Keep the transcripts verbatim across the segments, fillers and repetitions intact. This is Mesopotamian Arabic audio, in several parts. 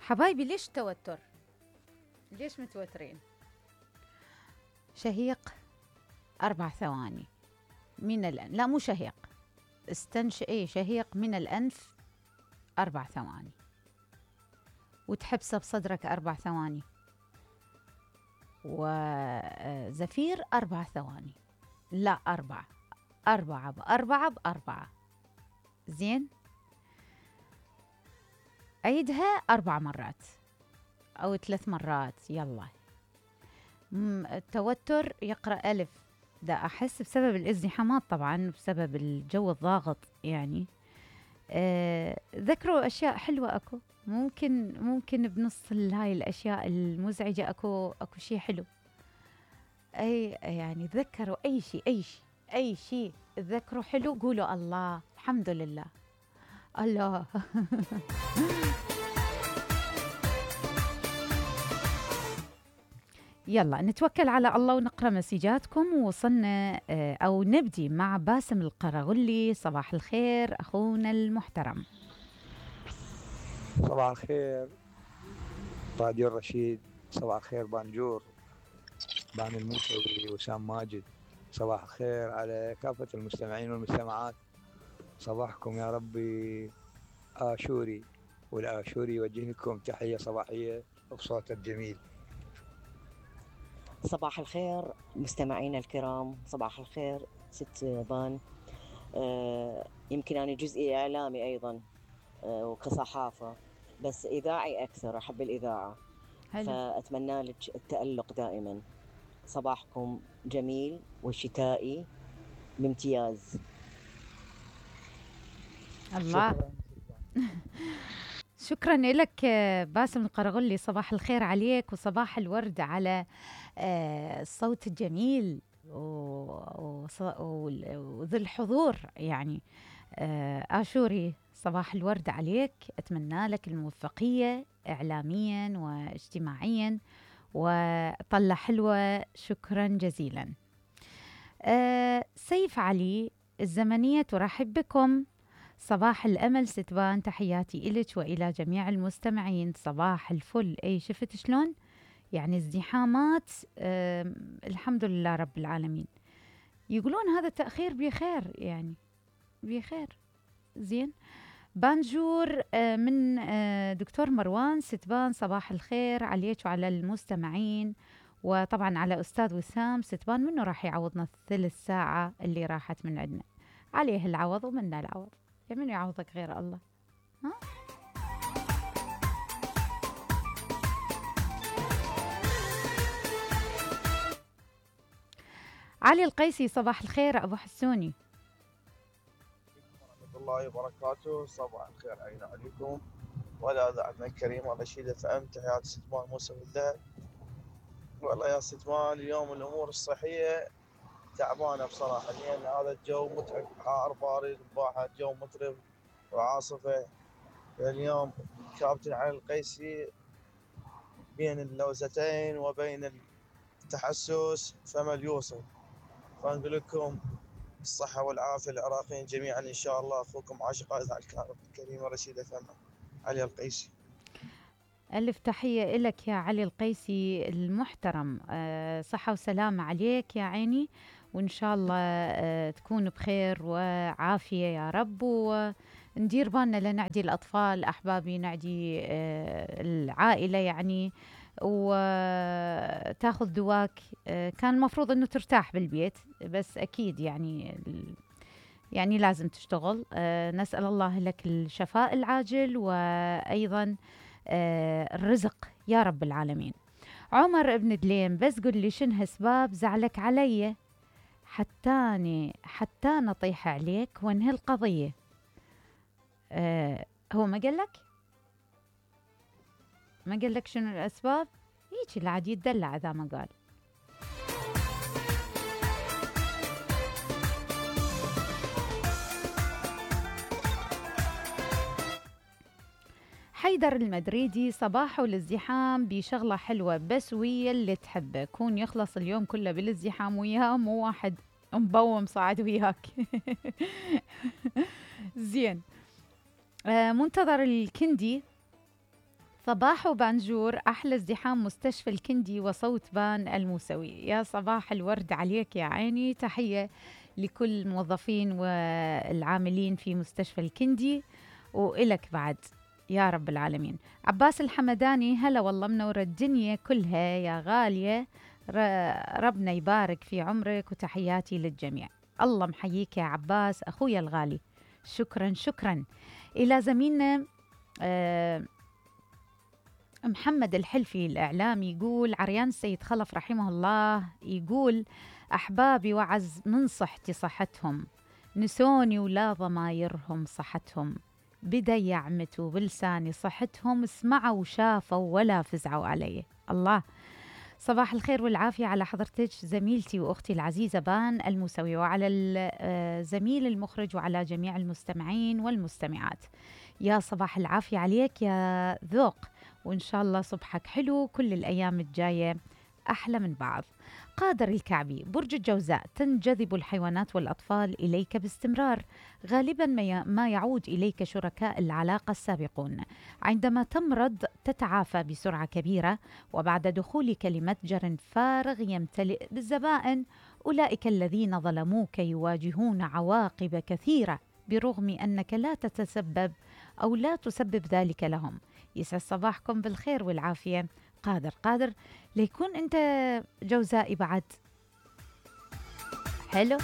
حبايبي ليش توتر؟ ليش متوترين؟ شهيق أربع ثواني من الأنف، لا مو شهيق، استنش ايه شهيق من الأنف أربع ثواني، وتحبسه بصدرك أربع ثواني، وزفير أربع ثواني، لا أربع أربعة بأربعة بأربعة. زين، عيدها أربع مرات أو ثلاث مرات. يلا. التوتر يقرأ ألف، دا أحس بسبب الازدحامات طبعا، بسبب الجو الضاغط يعني. أه ذكروا أشياء حلوة أكو، ممكن ممكن بنص هاي الأشياء المزعجة أكو أكو شيء حلو. أي يعني تذكروا أي شيء أي شيء أي شيء تذكروا حلو، قولوا الله الحمد لله الله. يلا نتوكل على الله ونقرأ مسيجاتكم. ووصلنا أو نبدي مع باسم القرغلي. صباح الخير أخونا المحترم. صباح الخير راديو الرشيد، صباح الخير بانجور، بان الموسوي، وسام ماجد. صباح الخير على كافة المستمعين والمستمعات، صباحكم يا ربي آشوري، والآشوري يوجه لكم تحية صباحية بصوت الجميل. صباح الخير مستمعينا الكرام، صباح الخير ست بان. آه يمكن أنا جزئي إعلامي أيضا، آه وكصحافة، بس إذاعي أكثر، أحب الإذاعة. هلو. فأتمنى لك التألق دائما. صباحكم جميل وشتائي بامتياز. الله. شكرا لك باسم القرغلي، صباح الخير عليك وصباح الورد على الصوت الجميل وذي الحضور يعني. آشوري صباح الورد عليك، أتمنى لك الموفقية إعلاميا واجتماعيا وطلة حلوة. شكرا جزيلا. سيف علي الزمنية ترحب بكم. صباح الأمل ستبان، تحياتي إلك وإلى جميع المستمعين. صباح الفل. أي شفت شلون يعني ازدحامات. أه الحمد لله رب العالمين. يقولون هذا التأخير بخير يعني، بخير. زين. بانجور أه من أه دكتور مروان ستبان، صباح الخير عليك وعلى المستمعين، وطبعا على أستاذ وسام ستبان. منه راح يعوضنا الثلث ساعة اللي راحت من عندنا؟ عليه العوض ومنا العوض، من يعوضك غير الله؟ ها؟ علي القيسي صباح الخير أبو حسوني. ورحمة الله وبركاته. صباح الخير علينا عليكم ولا ذاعتنا الكريمة رشيدة فأم. تحيات ستمان موسى بالذهب. والله يا ستمان اليوم الأمور الصحية تعبانة بصراحة، لأن هذا الجو متعب، حار بارد بواحد، جو مترب وعاصفة. اليوم كابتن علي القيسي بين اللوزتين وبين التحسس فمل يوصل. فنقول لكم الصحة والعافية للعراقيين جميعا إن شاء الله. أخوكم عاشق إذاعة الكريمة رشيدة فم علي القيسي. ألف تحية لك يا علي القيسي المحترم. أه صحة وسلامة عليك يا عيني، وإن شاء الله أه تكون بخير وعافية يا رب. وندير بالنا لنعدي الأطفال أحبابي، نعدي أه العائلة يعني، وتاخذ دواك. أه كان المفروض أنه ترتاح بالبيت، بس أكيد يعني يعني لازم تشتغل. أه نسأل الله لك الشفاء العاجل، وأيضا آه الرزق يا رب العالمين. عمر ابن دليم، بس قل لي شنو اسباب زعلك علي حتاني حتى نطيح عليك وانهي القضية. آه هو ما قال لك ما قال لك شنو الاسباب؟ هيك اللي عاد يتدلع اذا ما قال. حيدر المدريدي، صباحه الازدحام بشغلة حلوة بس ويا اللي تحبه، كون يخلص اليوم كله بالازدحام وياه، مو واحد مبوم صاعد وياك. زين. آه منتظر الكندي صباح وبانجور، أحلى ازدحام مستشفى الكندي وصوت بان الموسوي. يا صباح الورد عليك يا عيني، تحية لكل الموظفين والعاملين في مستشفى الكندي وإلك بعد يا رب العالمين. عباس الحمداني، هلا والله منور الدنيا كلها يا غالية، ربنا يبارك في عمرك وتحياتي للجميع. الله محييك يا عباس أخويا الغالي، شكرا شكرا. إلى زميلنا آه محمد الحلفي الإعلامي يقول عريان السيد خلف رحمه الله، يقول أحبابي وعز من صحتي صحتهم، نسوني ولا ضمايرهم صحتهم، بدا يعمتوا بلساني صحتهم، سمعوا وشافوا ولا فزعوا علي. الله، صباح الخير والعافية على حضرتك زميلتي وأختي العزيزة بان الموسوي، وعلى الزميل المخرج وعلى جميع المستمعين والمستمعات. يا صباح العافية عليك يا ذوق، وإن شاء الله صبحك حلو، كل الأيام الجاية أحلى من بعض. قادر الكعبي، برج الجوزاء، تنجذب الحيوانات والأطفال إليك باستمرار، غالبا ما يعود إليك شركاء العلاقة السابقون، عندما تمرض تتعافى بسرعة كبيرة، وبعد دخولك لمتجر فارغ يمتلئ بالزبائن، أولئك الذين ظلموك يواجهون عواقب كثيرة برغم أنك لا تتسبب أو لا تسبب ذلك لهم. يسعد صباحكم بالخير والعافية. قادر قادر ليكون أنت جوزائي بعد. حلو.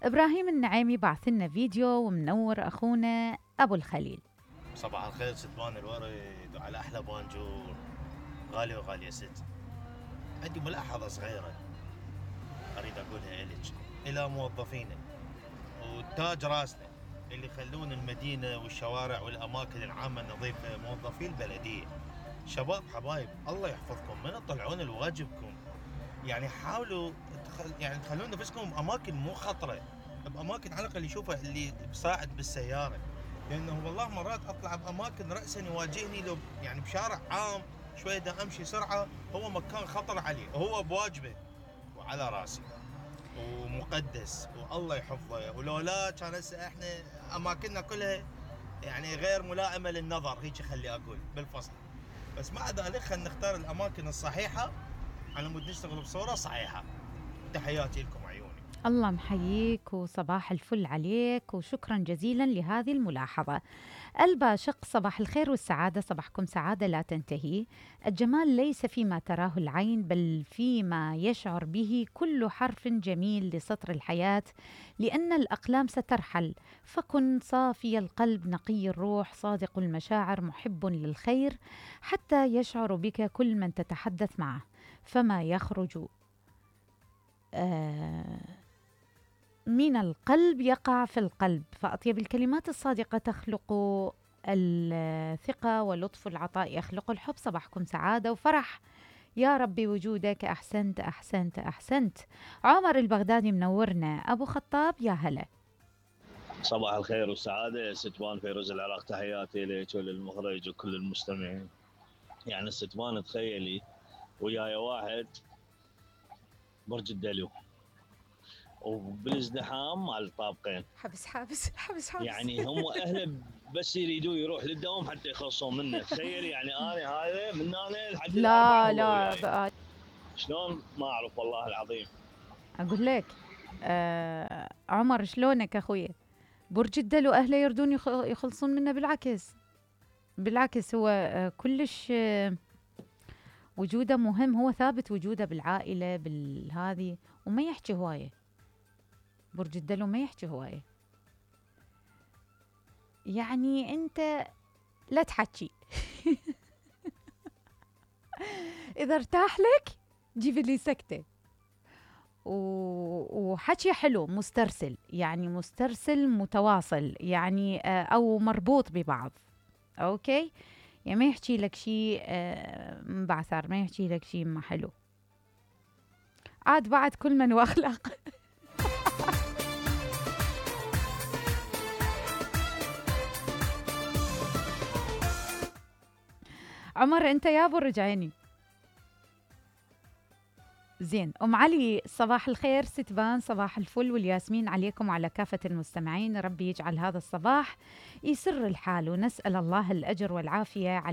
إبراهيم النعيمي بعث لنا فيديو ومنور أخونا أبو الخليل. صباح الخير ست بان الورد وعلى أحلى بانجور، غالي وغالية ست. عندي ملاحظة صغيرة أريد أقولها إليك إلى موظفينا وتاج راسنا اللي يخلون المدينة والشوارع والأماكن العامة النظيفة، موظفي البلدية. شباب حبايب الله يحفظكم، من تطلعون لواجبكم يعني حاولوا تخل... يعني تخلون نفسكم بأماكن مو خطرة، بأماكن على الأقل يشوفها اللي بساعد بالسيارة، لأنه والله مرات أطلع بأماكن رأسا يواجهني لو يعني بشارع عام شوية دا أمشي سرعة، هو مكان خطر عليه وهو بواجبه وعلى راسي ومقدس والله يحفظه، ولولا كان هسه احنا اماكننا كلها يعني غير ملائمه للنظر، هيك خلي اقول بالفصل. بس مع ذلك خلينا نختار الاماكن الصحيحه على مود نشتغل بصوره صحيحه. تحياتي لكم عيوني. الله محييك وصباح الفل عليك، وشكرا جزيلا لهذه الملاحظة. الباشق، صباح الخير والسعادة، صباحكم سعادة لا تنتهي. الجمال ليس فيما تراه العين بل فيما يشعر به كل حرف جميل لسطر الحياة، لأن الأقلام سترحل، فكن صافي القلب نقي الروح صادق المشاعر محب للخير حتى يشعر بك كل من تتحدث معه، فما يخرج آه من القلب يقع في القلب، فأطيب الكلمات الصادقة تخلق الثقة، ولطف العطاء يخلق الحب. صباحكم سعادة وفرح يا ربي وجودك، أحسنت أحسنت أحسنت. عمر البغدادي منورنا. أبو خطاب يا هلا. صباح الخير والسعادة ستوان فيروز العراق، تحياتي لك وللمخرج وكل المستمعين. يعني ستوان تخيلي وياي واحد برج الدلو وبالازدحام مع الطابقين، حبس حبس حبس حبس يعني هم اهله بس يريدوا يروح للدوام حتى يخلصون منه. تخيل يعني انا هذا من هنا لحد لا لا يعني. شلون ما اعرف والله العظيم. اقول لك آه عمر شلونك اخوي؟ برج الدلو اهله يردون يخلصون منه، بالعكس بالعكس هو آه كلش آه وجوده مهم، هو ثابت وجوده بالعائله بالهذه، وما يحكي هوايه. برج الدلو ما يحكي هوايه، يعني انت لا تحكي اذا ارتاح لك جيب لي سكته وحكي حلو مسترسل، يعني مسترسل متواصل يعني او مربوط ببعض. اوكي، يعني ما يحكي لك شيء مبعثر، ما يحكي لك شيء ما حلو. عاد بعد كل من واخلاق. عمر انت يا برج عيني زين أم علي، صباح الخير ستبان، صباح الفل والياسمين عليكم وعلى كافة المستمعين. ربي يجعل هذا الصباح يسر الحال، ونسأل الله الأجر والعافية عليكم